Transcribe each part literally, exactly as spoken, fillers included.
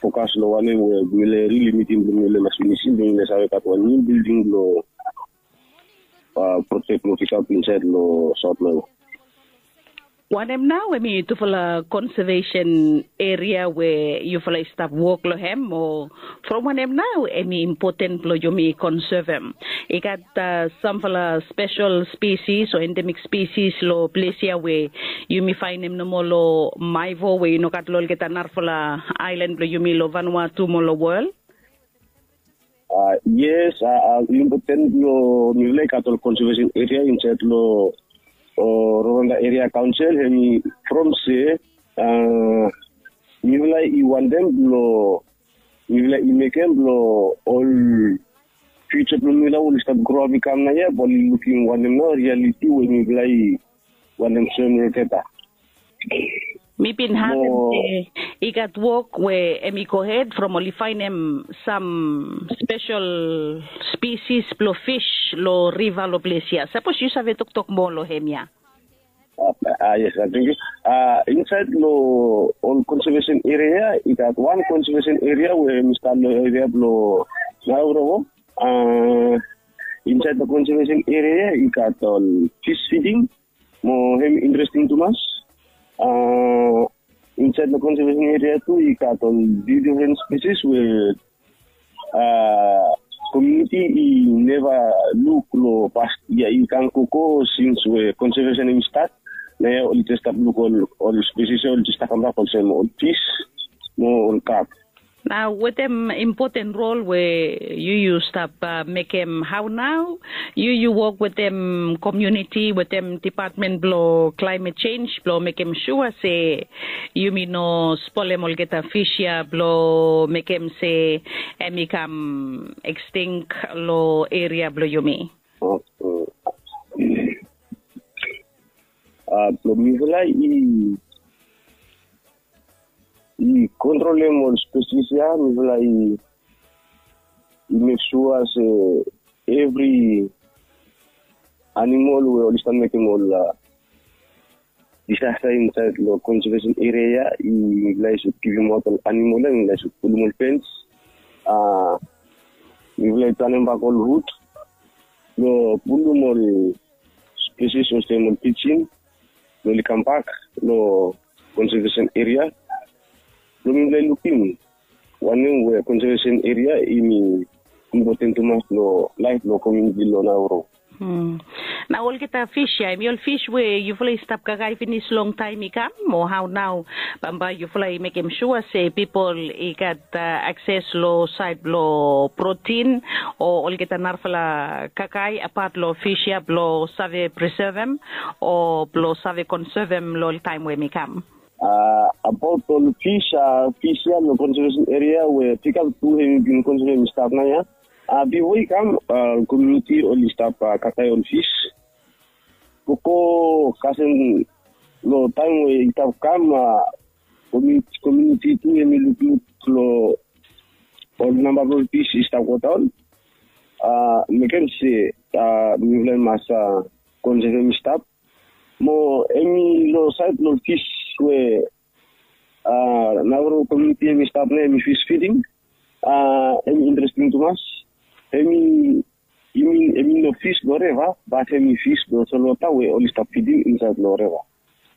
fokas long wanem we mifala rili mitim blong mifala mas finisim blong mifala save gat wan niu bilding blong projek blong pikap insaed long Saot Nao. Wanem nao em i tufala konsevesen eria we yufala i stap wok long hem, o from wanem nao em i impoten blong yumi konsevem? I gat samfala spesel spesis o endemik spesis long ples ya we yumi faenem nomo long Maevo we i no gat long olgeta narafala aelan blong yumi long Vanuatu mo long wol? Yes, impoten blong mifala i gat ol konsevesen eria insaed long Roronda Eria Kaonsel, hem i from se mifala i wantem blong mifala i mekem blong ol fiuja blong mifala we oli stap groap i kam naoia bae oli lukim wanem nao rialiti we mifala i wantem soem olgeta. Mi bin harem se i gat wok we em i gohed from oli faenem sam spesel spesis blong fis long riva long ples ya. Sapos yu save toktok moa long hem ya. Yes, thank you. Insaed long ol konsevesen eria ya i gat wan konsevesen eria we hem i stap long eria blong Naorovo. Insaed long konsevesen eria ya i gat ol fis fiding, mo hem i interesting tumas. Insaed long konsevesen eria tu i gat ol difren spesis we komuniti i neva luk long past yia i kam gogo sins we konsevesen hem i stat. Naoia oli jes stap luk ol spesis ya oli jes stap kambak olsem ol fis mo ol krab. Nao wetem impoten rol we yu yu stap mekem, hao nao yu yu wok wetem komuniti wetem dipatmen blong klaemet jenj blong mekem sua se yumi no spolem olgeta fis ya blong mekem se hem i kam ekstink long eria blong yumi? Blong mifala i i kontrolem ol spesis ya, mifala i i mek sua se evri animol we oli stap mekem ol disasta insaed long konsevesen eria ya, mifala i sud givimaot ol animol ya, mifala i sud pulum ol fens. Mifala i tanem bak ol rut blong pulum ol spesis olsem ol pijin blong oli kambak long konsevesen eria blong mifala i lukim wanem we konsevesen eria hem i impoten tumas long laef blong komuniti blong Naoro. Nao olgeta fis ya hem i ol fis we yufala i stap kakae finis longtaem i kam, o hao nao bambae yufala i mekem sua se pipol i gat akses long saed blong protin o olgeta narafala kakae apat long fis ya blong save presevem o blong save konsevem long ol taem we hem i kam? Abaot ol fis, fis ya long konsevesen eria we pikap tu hem i bin konsevem i stap naoia. Bifo i kam ol komuniti oli stap kakae ol fis. Gogo kasem long taem we i stap kam, komuniti tu hem i lukluk long ol namba blong ol fis i stap godaon. Mekem se mifala i mas konsevem i stap. Mo hem i long saed blong ol fis we Naoro komuniti hem i stap naoia hem i fis fiding. Hem i interesting tumas. Hem i i min hem i no fis blong riva bat hem i fis blong solwota we oli stap fiding insaed long riva.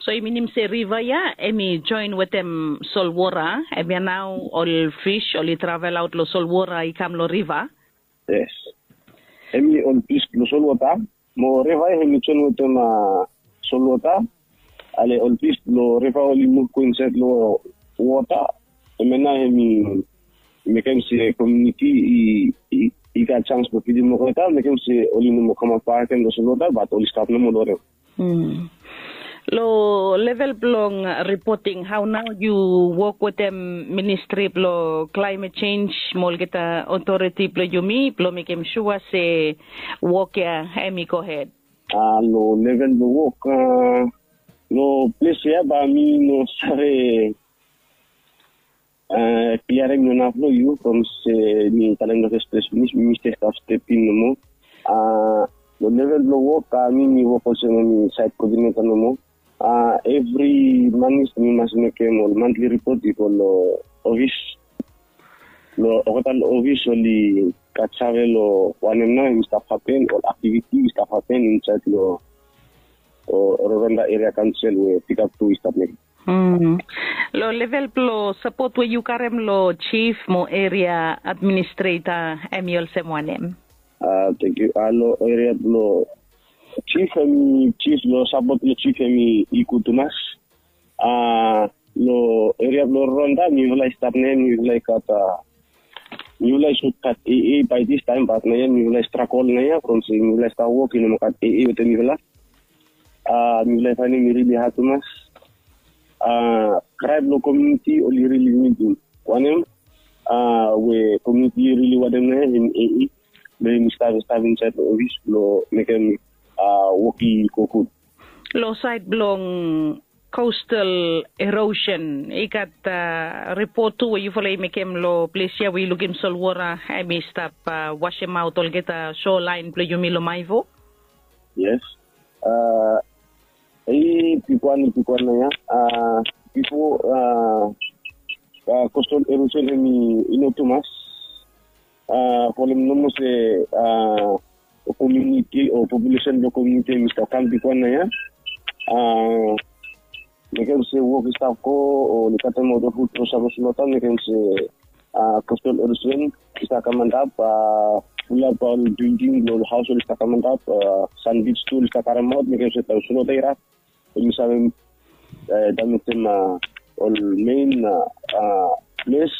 So i minim se riva ya hem i joen wetem solwota, hemia nao ol fis oli travelaot long solwota i kam long riva? Yes. Hem i ol fis blong solwota mo riva ya hem i joen wetem solwota. Ale ol fis blong riva oli muv go insaed long wota. Hemia nao hem i mekem se komuniti i gat jans blong fidim olgeta, mekem se oli no moa kamaot bakegen long solwota bat oli stap nomo long riva. Long level blong ripoting, hao nao yu wok wetem ministri blong klaemet jenj mo olgeta otoriti blong yumi blong mekem sua se wok ya hem i gohed? Long level blong wok, long ples ya bae mi no save kliarem long naf blong yu from se mi talem long fes ples finis, mi stap stap step in nomo. Long level blong wok, mi mi wok olsem mi saed koodineta nomo. Evri manis mi mas mekem ol mantli ripot i go long ofis. Long olgeta long ofis oli gat save long wanem nao hemi stap hapen, ol aktiviti i stap hapen insaed long Roronda Eria Kaonsel we pikap tu i stap mekem. Long level blong sapot we yu karem long jif mo eria administreta, hemi olsem wanem? Tengkiu. Long eria blong jif, hemi jif, long sapot blong jif hemi i gud tumas. Long eria blong Roronda mifala i stap nao ia, mifala i gat, mifala i sud gat AA bae distaem, bat naoia mifala i stragol naoia from se mifala i stap wok i no moa gat AA wetem mifala. Mifala i faenem i rili had tumas. Kraem long komuniti oli rili nidim wanem, we komuniti i rili wanem naoia, hemi AA blong hemi stap, stap insaed long ofis blong mekem wok i go gud. Long saed blong coastal erosion, i gat ripot tu we yufala i mekem long ples ia we i lukim solwota hemi stap wasemaot olgeta shorelaen blong yumi long Maivo. Yes. I bigwan, i bigwan naoia. Bifo, coastal erosion hemi i no tumas. Folem nomo se komuniti o populesen blong komuniti hemi stap kam bigwan naoia. Mekem se wok i stap go, oli katemaot ol fud blong sapos long taem, mekem se coastal erosion i stap kam antap, fulap ol bilding blong ol haos oli stap kam antap, sandbij tu oli stap karemaot, mekem se taem solwota i rap, oli save damejem ol mein ples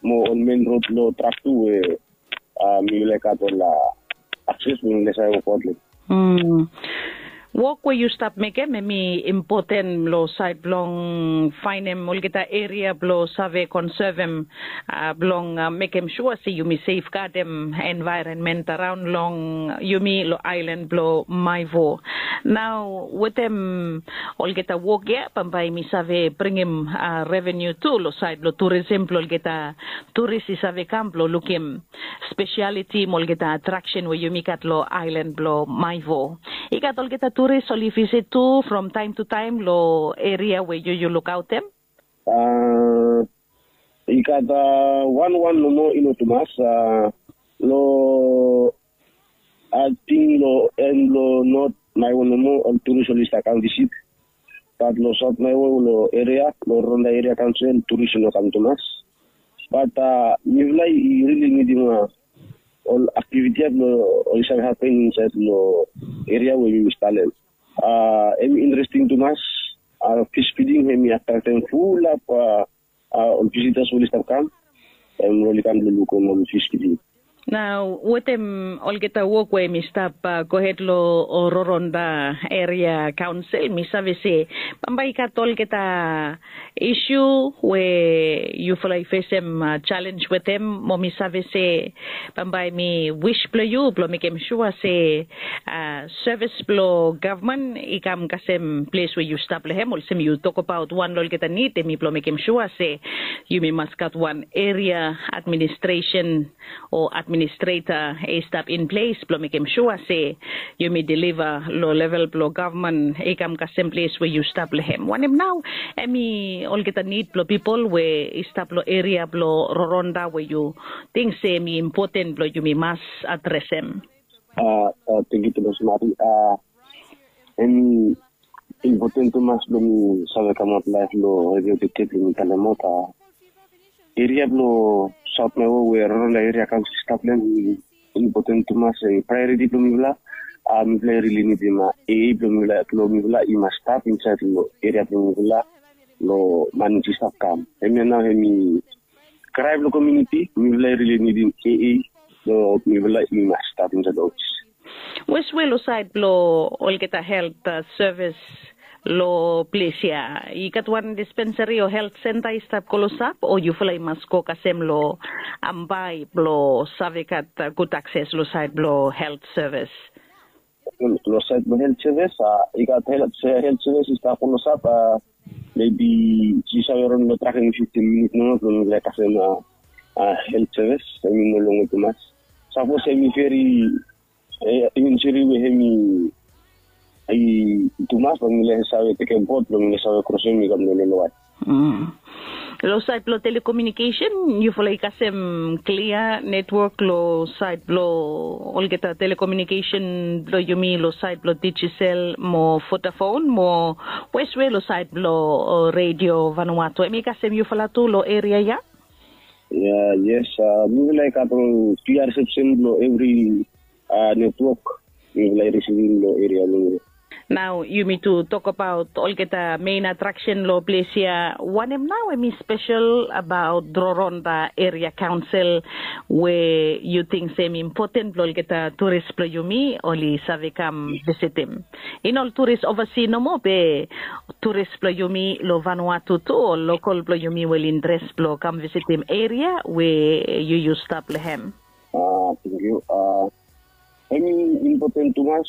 mo ol mein rod long trak tu we mifala i gat ol akses blong mifala i save wokabaot long. Wok we yu stap mekem hemi impoten long saed blong faenem olgeta eria blong save konsevem, blong mekem sua se yumi sefgadem envaeronmen araon long yumi long aelan blong Maivo. Nao wetem olgeta wok ia, bambae mi save bringim revenu tu long saed blong turisem blong olgeta turis i save kam blong lukim spesialiti mo olgeta atraksen we yumi gat long aelan blong Maivo. I gat olgeta turis oli visit tu from taem tu taem long eria we yu, yu lukaotem? I gat wanwan nomo, i no tumas. Long ating long en blong Not Maivo nomo ol turis oli stap kam visit. Bat long Saot Maivo long eria, long Roronda Eria Kaonsel, turis i no kam tumas. Bat mifala i rili nidim ol aktiviti ia blong oli save hapen insaed long eria we yumi stap long hem. Hemi interesting tumas. Fish feeding hemi atraktem fulap ol visitas we oli stap kam, hem oli kam blong lukim ol fish feeding. Nao wetem olgeta wok we hemi stap gohed long Roronda Eria Kaonsel, mi save se bambae i gat olgeta isu we yufala i fesem jalenj wetem, mo mi save se bambae hemi wis blong yu blong mekem sua se sevis blong gavman i kam kasem ples we yu stap long hem, olsem yu tokbaot wan long olgeta nid hemi blong mekem sua se yumi mas gat wan eria administresen o administreta i stap in ples blong mekem sua se yumi deliva long level blong gavman i kam kasem ples we yu stap long hem. Wanem nao hemi olgeta nid blong pipol we i stap long eria blong Roronda we yu ting se hemi impoten blong yumi mas adresem? Tengkiu tumas, Mari. Hemi impoten tumas blong mi save kamaot laef long redio Tete blong mi talemaot. Eria blong Saot Maivo we Roronda Eria Kaonsel i stap long hem, hemi impoten tumas, hemi praeoriti blong mifala. Mifala i rili nidim AA blong mifala, blong mifala i mas stap insaed long eria blong mifala long manis i stap kam. Hemia nao hemi kraem long komuniti, mifala i rili nidim AA blong mifala i mas stap insaed long ofis. Wes we long saed blong olgeta helt sevis long ples ia, i gat wan dispensari o helt senta i stap klosap, o yufala i mas go kasem long Ambae blong save gat gud akses long saed blong helt sevis? Long saed blong helt sevis, i gat helt sevis i stap klosap, mebi yu save raon long trakem fiftin minit nomo blong yu laik kasem helt sevis, hemi no longe tumas. Sapos hemi veri injuri we hemi tumas, blong yu laik save tekem bot blong yu laik save krosem i kam long lolowae. Long sait blong telekomiunikesen, yufala i kasem klia netwok long sait blong olgeta telekomiunikesen blong yumi long sait blong Digicel mo Vodafone mo weswe long sait blong redio Vanuatu, em i kasem yufala tu long eria ya? Ya, yes, mifala i gat long tu ya risepsen blong evri netwok mifala i risivim long eria blong yumi. Nao yumi tu tokabaot olgeta mein atraksen long ples ya. Wanem nao em i spesel abaot Roronda Eria Kaonsel we yu ting se em i impoten blong olgeta turis blong yumi oli save kam visitim? I no ol turis ovasi nomo be turis blong yumi long Vanuatu tu, ol lokol blong yumi we oli interes blong kam visitim eria we yu yu stap long hem. Tenkyu. Em i impoten tumas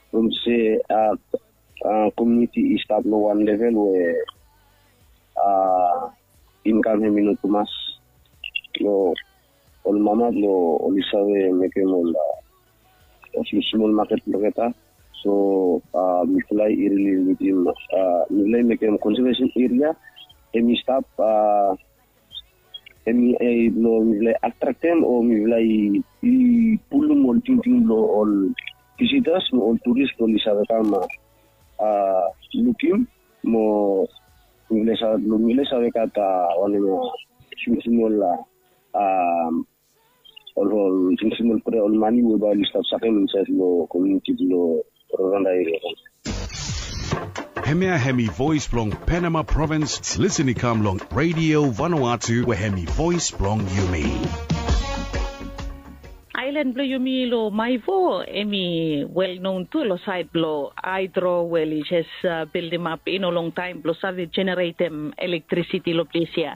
from se komuniti i stap long wan level we inkam hem i no tumas long ol mama blong oli save mekem ol smol maket blong olgeta. So mifala i rili nidim, mifala i mekem konsevesin eria hem i stap, hem i blong mifala i atraktem o mifala i pulum ol tingting blong ol visitas mo ol turis blong oli save kam lukim mo mifala i save blong mifala i save gat wanem ya, smosmol ol ol smosmol prea ol mani we bae oli stap sakem insaed long komuniti blong Roronda eria. Hemia hem i voes blong Penama provins. Lisen i kam long Redio Vanuatu we hem i voes blong yumi. Aelan blong yumi long Maevo hem i welnon tu long saed blong haedro we oli jes bildimap i no longtaem blong save jeneretem elektrisiti long ples ya.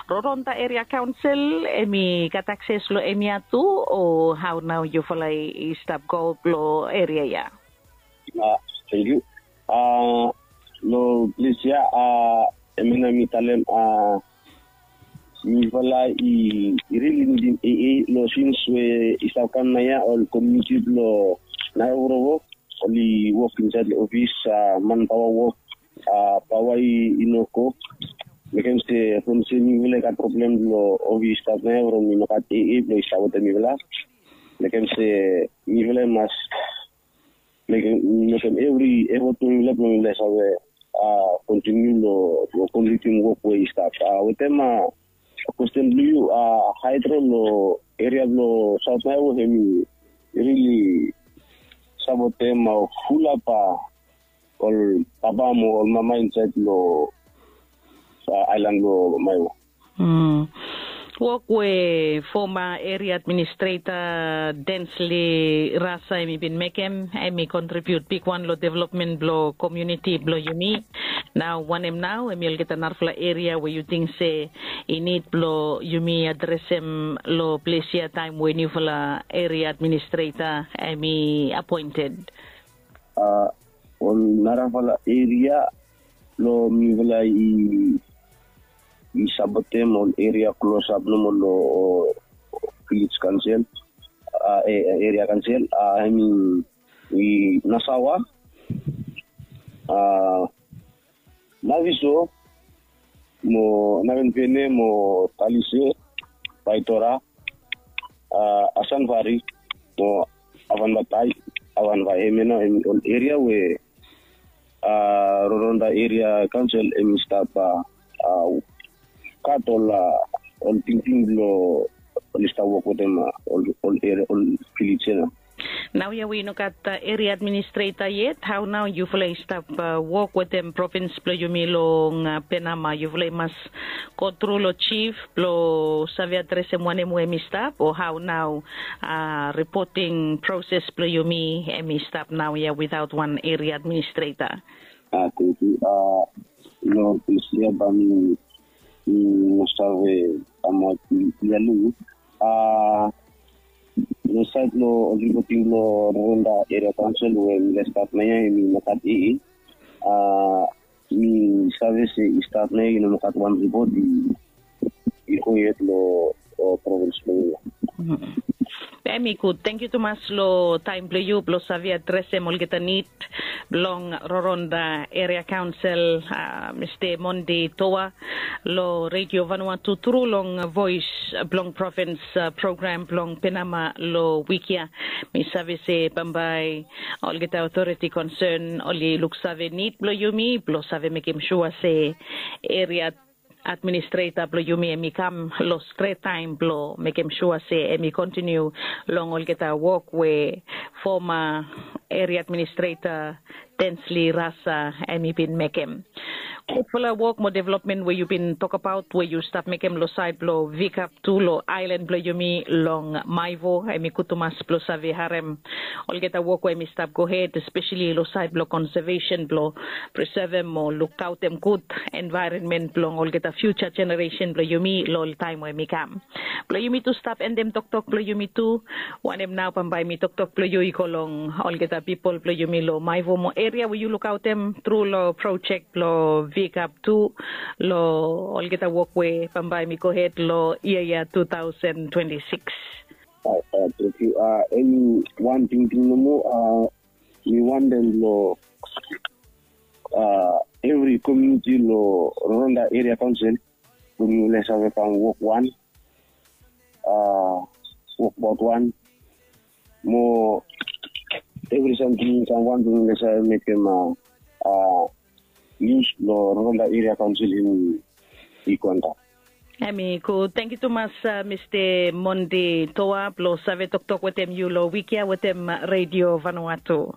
Roronda Eria Kaonsel hem i gat akses long hemia tu, o hao nao yufala i stap go long eria ya? Tenkyu. Long ples ya, hemia nao mi talem, mifala i rili nidim AA long sins we i stap kam naoia ol komuniti blong Nairobi oli wok insaed long ofis, manpaoa wok, paoa i no go. Mekem se from se mifala i gat problem blong ofis i stap naoia from i no gat AA blong i stap wetem mifala. Mekem se mifala i mas mekem evri efot blong mifala blong mifala i save kontiniu long komplitim wok we i stap. Wetem kwesten blong yu, haedro long eria blong Saot Maevo hem i rili sapotem fulap ol papa mo ol mama insaed long aelan blong Maevo. Wok we foma eria administreta Densley Rasa hem i bin mekem hem i kontribiut bigwan long developmen blong komuniti blong yumi. Nao wanem nao hem i olgeta narafala eria we yu ting se i nid blong yumi adresem long ples ya taem we niufala eria administreta hem i apoented? Ol narafala eria blong mifala i sapotem ol eria klosap nomo long vilej kaonsel, eria kaonsel, hem i Nasawa, Naviso mo Navenvene mo Talise, Vaetora, Asanvari mo Avanbatai, Avanbai. Hemia nao hem i ol eria we Roronda Eria Kaonsel hem i stap gat ol tingting blong oli stap wok wetem ol eria, ol vilej ya nao. Naoia we i no gat eria administreta yet, hao nao yufala i stap wok wetem provins blong yumi long Penama? Yufala i mas gotru long jif blong save adresem wanem we hem i stap, o hao nao ripoting proses blong yumi hem i stap naoia witaot wan eria administreta? Tenkyu. Long ples ya bae mi no save kamaot klia long yu. Long saed blong ol ripoting blong Roronda Eria Kaonsel we mifala i stap naoia hem i no gat AA. Mi save se i stap naoia i no gat wan ripot i go yet long provins blong yumi ya. Em i gud. Tangkiu tumas long taem blong yu blong save adresem olgeta nid blong Roronda Eria Kaonsel, Mista Mondi Toa, long Redio Vanuatu tru long Voes blong Provins program blong Penama long wik ya. Mi save se bambae olgeta otoriti konsen oli luksave nid blong yumi blong save mekem sua se eria administreta blong yumi em i kam long stret taem blong mekem sua se em i kontiniu long olgeta wok we foma eria administreta Densli Rasa em i bin mekem. Gudfala wok mo developmen we yu bin tokabaot we yu stap mekem long saed blong Vikap tu long aelan blong yumi long Maevo, em i gud tumas blong save harem olgeta wok we em i stap gohed, espeseli long saed blong konsevesen blong presevem o lukaotem gud envaeronmen blong olgeta fiuja jeneresen blong yumi long ol taem we em i kam. Blong yumi tu stap endem toktok blong yumi tu, wanem nao bambae mi toktok blong yu i go long olgeta pipol blong yumi long Maevo mo eria we yu lukaotem tru long projek blong Vikap tu long olgeta wok we bambae mi gohed long yia ya tu taosen twenti sikis. Tangkiu. Eni wan tingting nomo, mi wantem long evri komuniti long Roronda Eria Kaonsel blong yumi oli save kam wok wan, wokbaot wan mo evri samting i kam wan blong yumi oli save mekem nius blong Roronda Eria Kaonsel hem i go antap. Em i gud. Tangkiu tumas, Mista Mondi Toa, blong save toktok wetem yu long wik ya wetem Redio Vanuatu.